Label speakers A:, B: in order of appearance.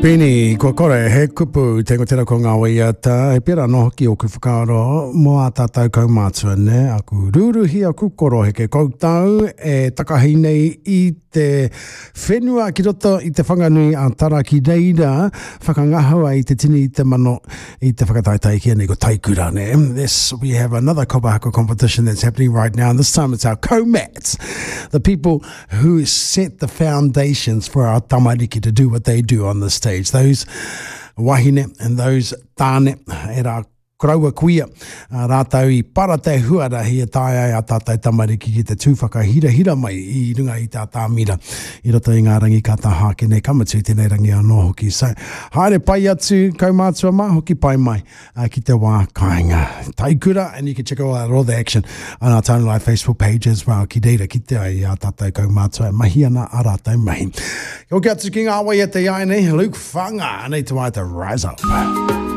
A: Peni, kua kore he kupu, te tera ko ngā waiata, he pērā anō hoki ōku whakaaro mō ā tātou kaumātua, nē, aku rūruhi, aku koroheke koutou e takahi nei i te whenua ki roto i Te Whanganui a Tara ki reira whakangahau ai te tini i te mano i te whakataetae ki nei ko Taikura, nē. This, we have another kapa haka competition that's happening right now, and this time it's our co-mats, the people who set the foundations for our tamariki to do what they do on the stage. Those wahine and those tāne, e rā koroua kuia, rātou i para te huarahi e taea ai a tātou tamariki ki te tū whakahirahira mai i runga i te atamira i roto i ngā rangi ka taha ake nei, ka mutu i tēnei rangi anō hoki. So, haere pai atu, kaumātua mā, hoki pai mai. uh, ki te wā kāinga. Taikura, and you can check out all the action on our Town Life Facebook page as well. Ki reira ki te ai a tātou kaumātua e mahi ana a rātou mahi. Hoki atu ki ngā wai e te ai nei, Luke Whanga, anei te waiata Rise Up.